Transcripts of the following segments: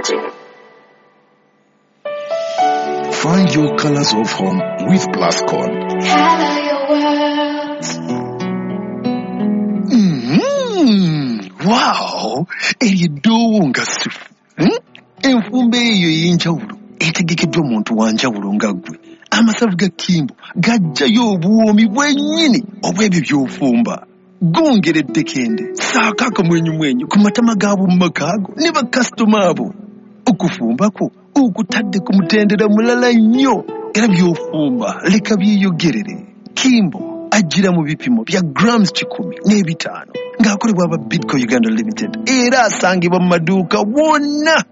Technology. Find your colors of home with Plascon. Color your world. Wow! Eryo eddoowo nga sifu. Enfumba eyo ey'enjawulo etegekeddwa omuntu wa njawulo nga ggwe. Amasavu ga Kimbo gajjayo obuwoomi bwennyini obw'ebyo by'ofumba. Gongera eddekende, ssaako akamwenyumwenyu ku matama g'ab'omu maka go ne bakasitoma abo. Okufumba kwo okutadde ku mutendera mulala nnyo era by'ofumba leka byeyogerere. Kimbo ajjira mu bipimo bya grams 105 ng'akolebwa aba Bidco Uganda Limited era asangibwa mu maduuka wonna.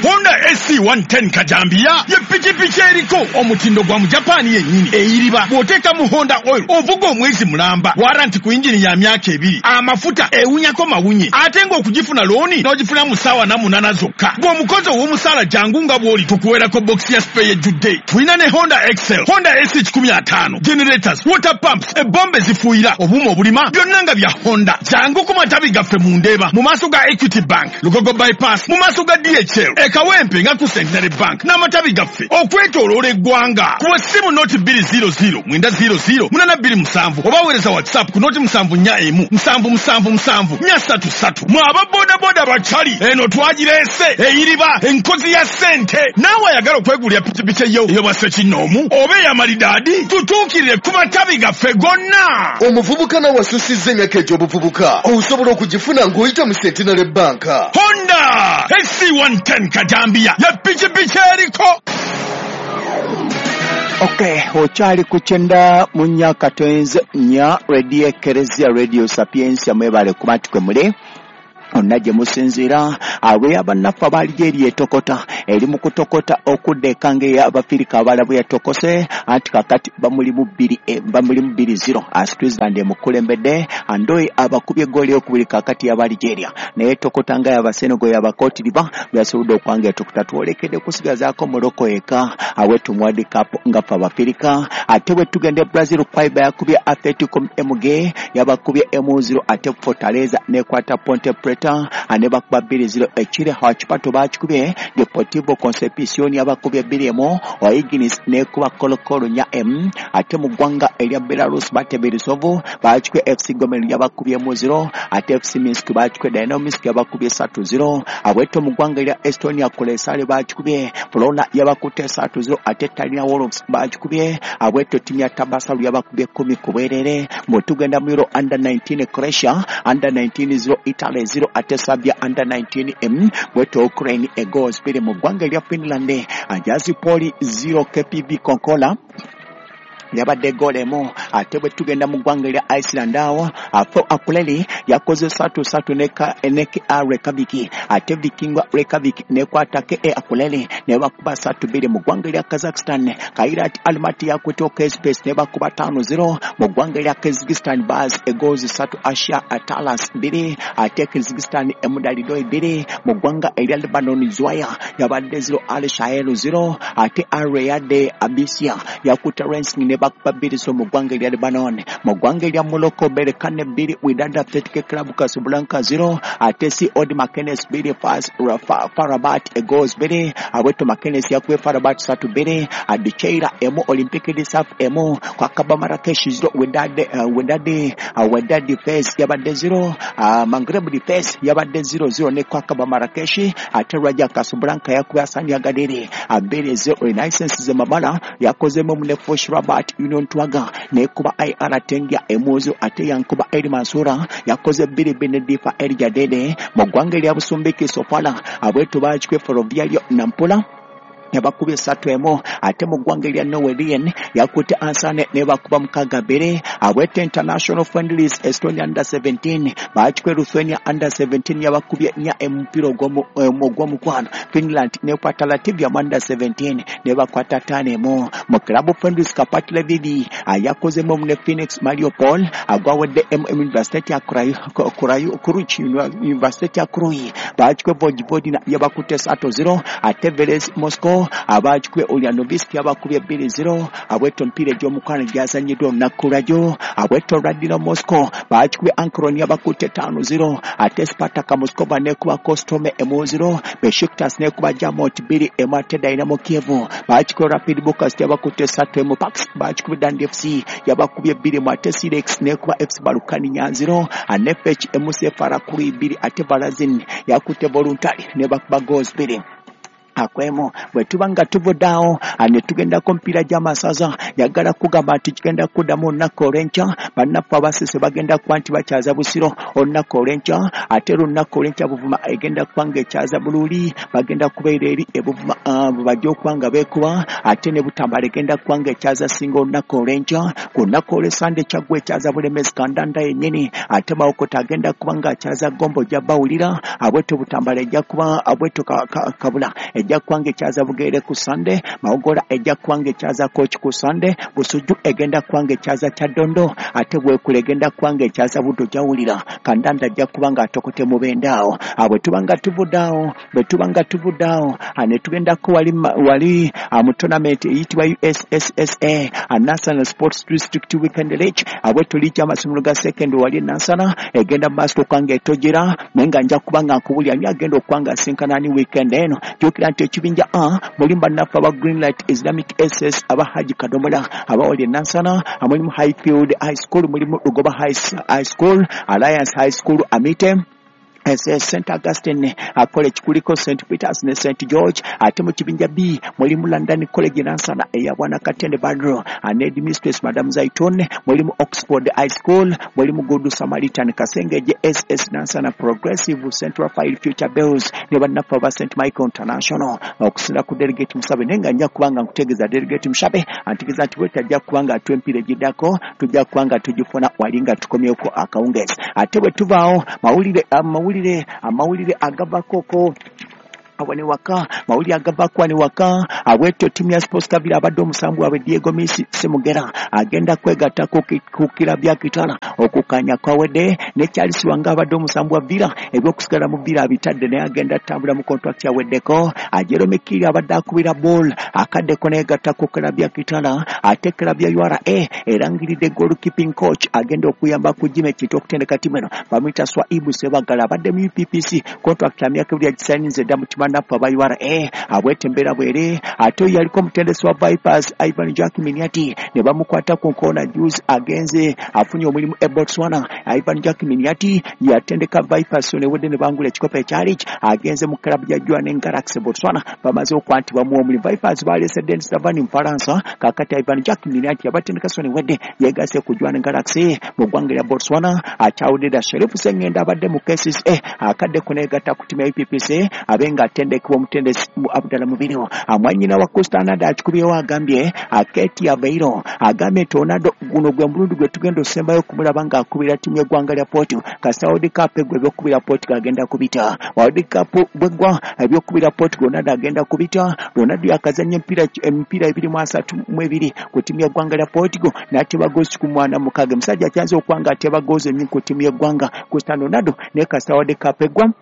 Honda SC110 Kajambiya ye pikipiki eriko omutindo gwa Mujapani yennyini eyiriba bw'oteeka mu Honda oil ovuga omwezi mulamba waranti ku yingini ya myaka 2 amafuta ewunyako mawunye ate ng'okugifuna looni n'ogifuna mu ssaawa 8 zokka bw'omukozi ow'omusaala jangu nga bw'oli tukuweerako bokisi ya spare ejjudde. Tulina ne Honda Excel, Honda SC150, generators, water pumps, ebombe ezifuuyira, obuuma obulima byonna nga bya Honda. Jangu ku matabi gaffe mu Ndeeba mu maaso ga Equity Bank, Lugogo Bypass, mu maaso ga DHL, e Kawempe nga ku Centenary Bank n'amatabi gaffe okwetooloola eggwanga. Kuba essimu noti 200 900 827 oba weereza WhatsApp ku noti 741 777 433. Mwe aba bodaboda bakyali eno twagireese eyiriba enkozi ya ssente. Naawe ayagala okwegulira pikipiki eyo ey'obwassekinnoomu oba ey'amalidaadi tutuukirire ku matabi gaffe gonna. Omuvubuka nawe asusizza emyaka egy'obuvubuka osobola okugifuna ng'oyita mu Centenary Bank. Honda SC110 Kajambiya ya pikipiki eriko. Okay, okyali ku 94.4 Radio Ekereziya Radio Sapientia mwebale kuba nti kwe muli onna gye musinziira. Awe abannaffe abaali gyeri etokota eri mu kutokota okudda eka ng'ey'Abafirika abalala bwe yatokose anti kakati bamulimu 2-0 Switzerland emukulembedde Andoyi abakubye eggooli ey'okubiri kakati yaba Algeria naye etokota nga yaba Senegal yaba Cote d'Ivoire bwe yasobodde okuba nga etokota. Twolekedde kusigazaako Morocco eka awetu mu World Cup nga ffe Abafirika. Ate bwe tugenda e Brazil Kwaiba yakubye Atletico MG yabakubye 0 ate Fortaleza n'ekwata Ponte Preta ane bakuba 2-0 ekire Huachipato bakikubye Deportivo Concepcion yabakubye 2-1 O'Higgins n'ekuba Colo Colo 4-1 ate mu ggwanga erya Belarus Bateberesovo bakikubye FC Gomel yabakubye 0 ate FC Minsk bakikubye Dynamo Minsk yabakubye 3-0 abweto mu ggwanga erya Estonia Kolesare bakikubye Flona yabakutte 3-0 ate Tallinn Wolves bakikubye abweto ttiimu ya Tabasalu yabakubye 10 ku bwerere. Bwe tugenda mu Euro under 19 Croatia under 19 0 Italy 0 ate Serbia under 19 M bweto Ukraine egoals 2 mu ggwanga erya Finland Ajazi Poli 0 KPV Konkola yabadde goal emu. Ate bwe tugenda mu ggwanga erya Iceland awo Afo Akureyri yakoze 3-3 ne KA Reykjavik ate Vikinga Reykjavik n'ekwata KA Akureyri ne bakuba 3-2 mu ggwanga erya Kazakhstan. Kairat Almaty yakutte OK Space ne bakuba 5-0 mu ggwanga erya Kyrgyzstan Baz egoals 3 Asia Atalas 2 ate Kyrgyzstan Emudalidoi 2 mu ggwanga erya Lebanon Zwaya yabadde 0 Al Shael 0 ate Al Riyadh Abisia yakutte Rensing ne bakuba 2 mu ggwanga erya Lebanon. Mu ggwanga erya Morocco Berkane 2 Wydad Athletic Club Casablanca 0 ate COD Makenes 2 FAS Farabat egoals 2 Aweto Makenes yakubye Farabat 3-2 Adicheira 1 Olympique de Saf 1 Kwakaba Marrakesh 0 Wydad Fes yabadde 0 Maghreb Fes yabadde 0-0 ne Kwakaba Marrakesh ate Raja Casablanca yakubye Asani Agadir 2-0 Renaissance Zemamala yakozemu ne Fosh Rabat Union Twaga n'ekuba IR Tengia 1 ate yankuba Eri Mansura yakoze 2-2 ne Difa El Jadede. Mu ggwanga erya Busumbiki Sofala abwetu bakikwe Ferroviario Nampula yabakubye 3-1 ate mu ggwanga erya Norwegian yakutte Ansane ne bakuba 6-2 abwete International Friendlies Estonia under 17 bakikwe Lithuania under 17 yabakubye 4 omupiira ogw'omukwano Finland n'ekwata Latvia under 17 ne bakwata 5-1 mu Club Friendlies Karpaty Lviv yakozemu ne Phoenix Mariupol agwawedde MM University ya Kuruchi University ya Krui bakikwe Vojvodina yabakutte 3-0 ate Veles Moscow 0 abagikubye Ulyanovsk yabakubye 2-0. Abwetto emipiira egy'omukwano gyazannyiddwa olunaku lwajjo. Abwetto Radino Moscow bagikubye Ankron yabakutte 5-0 ate Spartak Moscow nekuba Kostome 1-0 Besiktas nekuba Jamot 2-1 ate Dynamo Kiev bagikubye Rapid Bucharest yabakutte 3-1 Pax bagikubye Dundee FC yabakubye 2-1 ate Silex nekuba FC Balukani 4-0 Anefech MC Farakuri 2 ate Balazin yakutte Voluntary nebakuba goals 2 akwemo. Bwe tuba nga tuvuddeawo ne tugendako omupiira gy'amasaza, yagala kugamba nti kigenda kuddamu olunaku olw'enkya. Bannaffe abasese bagenda kuba nti bakyaza Busiro olunaku olw'enkya, ate olunaku olw'enkya Buvuma egenda kuba nga ekyaza Buluuli, bagenda kubeera eri ebuvuma bajja okuba nga beekuba, ate ne Butambala egenda kuba nga ekyaza Singa olunaku olw'enkya. Ku lunaku olw'essande Kyaggwe ekyaza Bulemezi Kandanda yennyini, ate Mawokota agenda kuba nga akyaza Gombo ojja bawulira, abwetyo Butambala ejja kuba abwetyo Kabula ejja kuba nga ekyaza Bugere ku Sande, Mawogola ejja kuba nga ekyaza Kooki ku Sande, Busujju egenda kuba nga ekyaza Kyaddondo, ate Bwekula egenda kuba nga ekyaza Buddo gyawulira, Kandanda ajja kuba nga atokote Mubende awo. Bwe tuba nga tuvuddeawo ne tugendako wali mu tournament eyitibwa USSSA National Sports District Weekend League, abwetyo liigi y'amasomero ga secondary wali e Nansana egenda mu maaso okuba nga etojera, naye nga nja kuba nga nkubulira ani agenda okuba nga asinkana ani weekend eno. Jjukira nti ekibinja A mulimu bannaffe aba Greenlight Islamic SS aba Haji Kadomola abawali e Nansana, mulimu Highfield High School, mulimu Lugoba High School, Alliance High School, Amite St. Augustine College kuliko St. Peters ne St. George. Ate mu kibinja B mulimu London College Nansana eya Bwana Katende Badro and Headmistress Madam Zaitun, mulimu Oxford High School, mulimu Good Samaritan Kasengeje SS Nansana Progressive Central Fire Future Bells ne bannaffe aba St. Michael International. Okusinza ku Delegate Musabe, naye nga nja kubanga nkutegeeza Delegate Musabe antegeeza nti bwe tajja kubanga atuwa emipiira egiddako tujja kubanga tugifuna wali nga tukomyeko akawungeezi. Ate bwe tuvaawo amawulire agavakoko wane waka, mawulire agavako wane waka. Abwetyo ttiimu ya Sports Kabira abadde omusambi waabwe Diego Messi Semugera agenda kwegatta ku kirabu ya Kitara okukanya kwawedde, ne Charles Wanga abadde omusambi wa Villa ebyokusigala mu Villa abitadde naye agenda atambula mu contract yaweddeko. Jerome Kiri abadde akubira ball akaddeko neyegatta ku kirabu ya Kitara. Ate kirabu ya URA erangiridde goalkeeping coach agenda okuyamba ku Jimmy Kintu okutendeka ttiimu eno, bamuyita Swaibu Sebagala abadde mu UPPC contract ya myaka ebiri yagisayininze dda mu bannaffe aba URA. Abwete embeera bwere. Ate oyo yaliko omutendesi wa Vipers Ivan Jack Miniati ne bamukwata ku nkoona juzi agenze afunye omulimu e Botswana. Ivan Jack Miniati yatendeka Vipers newedde ne bangula ekikopo ekyali agenze mu club ya Jwaneng Galaxy Botswana, bamaze okuba nti bamuwa omulimu. Vipers baleese Denis Lavani Mufaransa, kaakati Ivan Jack Miniati yabatendeka so newedde yeegase ku Jwaneng Galaxy mu ggwanga lya Botswana. Akyawudde dda Sheriff Sengenda abadde mu KCCA akadde kuneegatta ku ttiimu ya UPPC abe nga atendekebwa omutendesi Abdallah Mubiru. Mwanyina wa Cristiano Ronaldo akikubyewo agambye Aketi Aveiro agambye nti Ronaldo guno gwe mulundi gwe tugenda osembayo okumulaba ng'akubira ttiimu y'eggwanga lya Portugal. Kasita World Cup eggwa ebyokubira Portugal agenda kubita. World Cup bweggwa ebyokubira Portugal Ronaldo agenda kubita. Ronaldo yakazannya emipiira 232 ku ttiimu y'eggwanga lya Portugal n'ateba goozi 16. Omusajja akyanze okuba ng'ateba goozi ennyingi ku ttiimu y'eggwanga Cristiano Ronaldo, naye kasita World Cup eggwa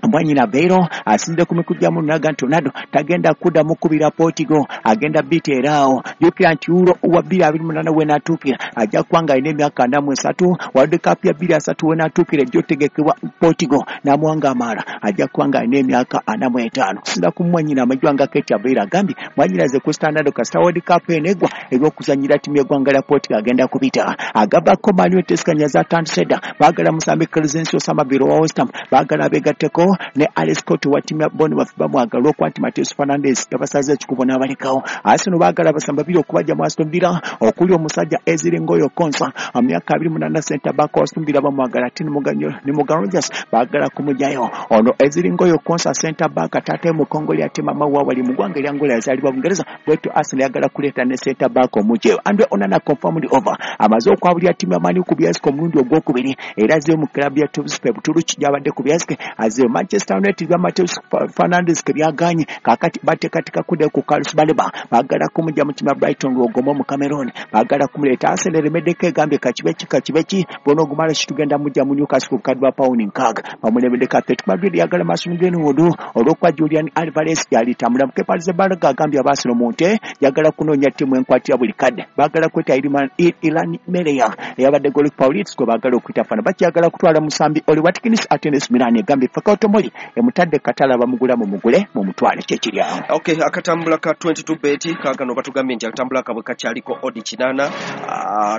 Mwanyina Aveiro asinze ku mikutu gya munaga nti Ronaldo tagenda kuddamu kubira Portugal, agenda biteera awo. Jjukira nti Euro wa 2028 wenaatuukira ajja kuba nga alina emyaka 43. World Cup ya 2030 wenaatuukira ejja otegekebwa Portugal n'amawanga amalala ajja kuba nga alina emyaka 45. Kusinza ku mwanyina amajwa nga Kate Aveiro agambye mwanyinaze Cristiano Ronaldo kasita World Cup eno eggwa ebyokuzannyira ttiimu y'eggwanga lya Portugal agenda kubita. Agavako Man U eteesekanya zatandise dda, baagala musambi Crescencio Samaville owa West Ham, baagala abeegatteko ne Alex Scott wa ttiimu ya Bournemouth bamwagala okuba nti Mateus Fernandes yabasaze ekikubo n'abalekawo. Arsenal baagala abasamba babiri okubajja mu Aston Villa okuli omusajja Ezri Ngoyo Konsa myaka 28 center back wa Aston Villa bamwagala, ate ne Morgan Rogers baagala kumugyayo. Ono Ezri Ngoyo Konsa center back taata mu Kongoli ate mama we wali mu ggwanga erya Angola yazaalibwa Bungereza, bwetyo Arsenal yagala kuleeta ne center back omugyeyo. Andre Onana confirmed over amaze okwabulira ttiimu ya Man U ku Biasco omulundi ogwokubiri era azzeeyo mu club ya Tubspe Buturuki gy'abadde ku Biasco azzeeyo. Manchester United bya Mateus Fernandes ke byaganye. Kaakati bateekateeka kuddayo ku Carlos Baleba, baagala kumujja mu tiimu ya Brighton Lwogomo mu Cameroon, baagala kumuleeta. Arsenal eremeddeko, egambye kakibe ki bona ogumala kitugenda mujja mu Newcastle ku bukadde bwa pawundi 6, bamulemeddeko. Atletico Madrid yagala Mason Greenwood olw'okuba Julian Alvarez gyalitambula. Kepa Arrizabalaga agambye Abaasino mu nte yagala kunoonya ttiimu enkwatira buli kadde, baagala kweta Ilan Mereya eyabadde goalkeeper Leeds gwe baagala okuyita fana, bakyagala kutwala musambi Oli Watkins. Ate ne Milan egambye Fikayo Tomori emutadde katala, bamugula mumugule mumutwale, kyekiri awo. Okay, akatambula ka 22 bet kaakano batugambye nti akatambula kabwe kakyaliko odd 8.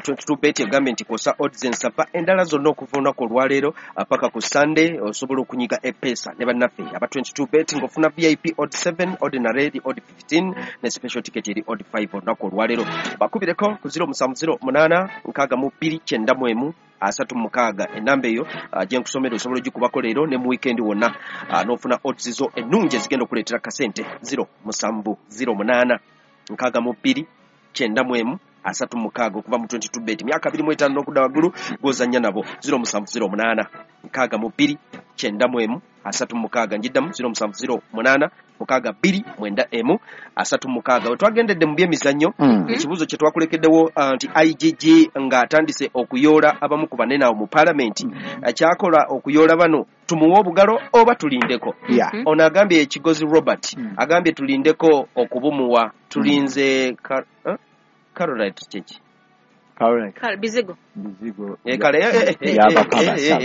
22 bet egambye nti kosa odds ensava endala zonna okuva olunaku olwaleero paka ku Sunday osobola okunyiga epesa ne bannaffe aba 22 bet ng'ofuna VIP odd 7, ordinary eri odd 15 ne special ticket eri odd 5. Olunaku olwaleero bakubireko ku 0708 62 91 36, enamba eyo gye nkusomera osobola ogikubako leero ne mu weekend wonna n'ofuna odds zo ennungi ezigenda okuleetera kasente. 0708 62 91 36 okuva mu 22 bet, myaka 25 n'okudda waggulu gw'ozannya nabo. 0708 62 91 36, njiddamu 0708 62 91 36. We twagendedde mu byemizannyo, ekibuuzo kye twakulekeddewo nti IGG ng'atandise okuyoola abamu ku banene awo mu paalamenti, kyakola okuyoola bano, tumuwe obugalo oba tulindeko? Ono agambye, Ekigozi Robert, agambye tulindeko okubumuwa, tulinze Caroline kiki? Caroline. Bizigo. Bizigo. Kale, Yabakabasa.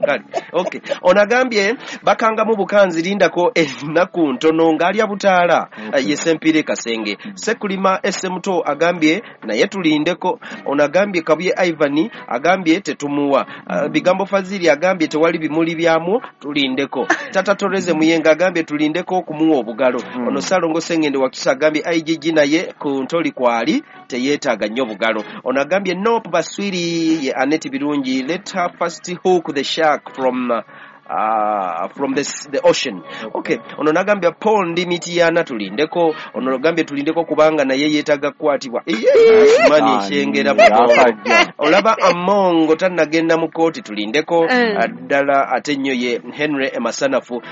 Kale. Okay, ono agambye bakangamu bukanzi, lindako ennaku ntono ng'alya butaala. Ye Sempire Kasenge Sekulima Esemuto agambye naye tulindeko. Ono agambye Kabuye Ivan agambye tetumuwa. Bigambo Fazili agambye tewali bimuli byamwo, tulindeko. Tata Toreze Muyenga agambye tulindeko okumuwa obugalo. Ono Salongo Sengende Wakisa agambye IGG naye ku ntoli kwali teyeetaaga nnyo bugalo. Ono agambye nop Baswiri ye Aneti Birungi, let her first hook the shark from the ocean. Okay, ono nagambye Paul Ndimitiana tulindeko. Ono agambye tulindeko kubanga naye yeetaaga kukwatibwa. Mani Kyengera Yakajja. Olaba Amongo tannagenda mu kooti, tulindeko. Ddala ate nnyo ye Henry Emasanafu.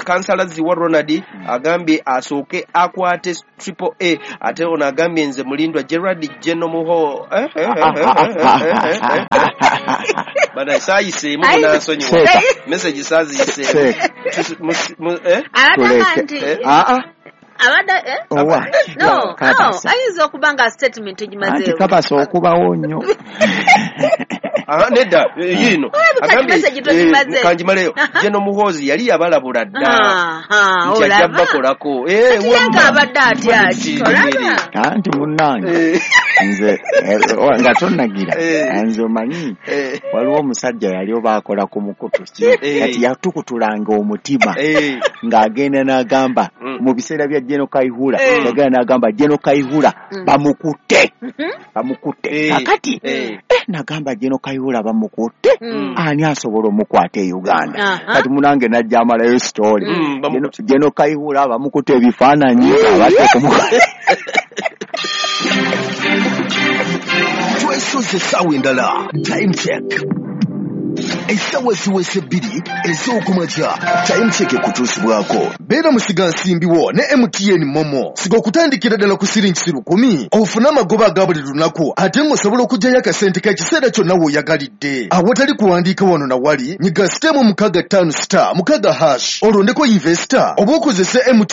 Kansala Ziwa Ronald agambye asooke akwate Triple A. Ate ono agambye nze Mulindwa Gerard Jenomuho bana saayiseemu, munansonyiwa. Seeka. Message saaziyiseemu. Seeka. Eh? Abataka Tuleke. nti Aa, abadde eh? Owa. No, Kabasa. ayinza okuba nga statement Anti egimazeewo. kabasa okubawo nnyo. Aha, nedda, yiino Olabika agambye message togimaze. Kanjimaleyo. Jeno Muhoozi yali yabalabula dda Aha, nti ajja olaba bakolako. Kati ye Wamma. nga abadde atya ki? Olaba Anti munnange, nze nga tonnagira, nze omanyi waliwo omusajja yali oba akola ku mukutu ki, kati yatukutulanga omutima ng'agenda n'agamba mu biseera bya Jeno Kaihura, yagenda n'agamba Jeno Kaihura bamukutte, bamukutte. Kakati nagamba Jeno Kaihura bamukutte, ani asobola omukwata e Uganda? Kati munange najja amalayo story. Bamukutte. Jeno Kaihura bamukutte, ebifaananyi abadde kumukwata. Twesoze essaawa endala. Time check, essaawa ziweze 2 ez'okumakya. Time check ekutuusibwako Beera musigansimbiwo ne MTN MoMo. Siga okutandikira ddala ku siringi 1,000 ofune amagoba aga buli lunaku, ate ng'osobola okuggyayo akasente k'ekiseera kyonna w'oyagalidde awatali kuwandiika wano na wali. Nyiga star 65 star 6 hash, olondeko investor oba okozese MTN.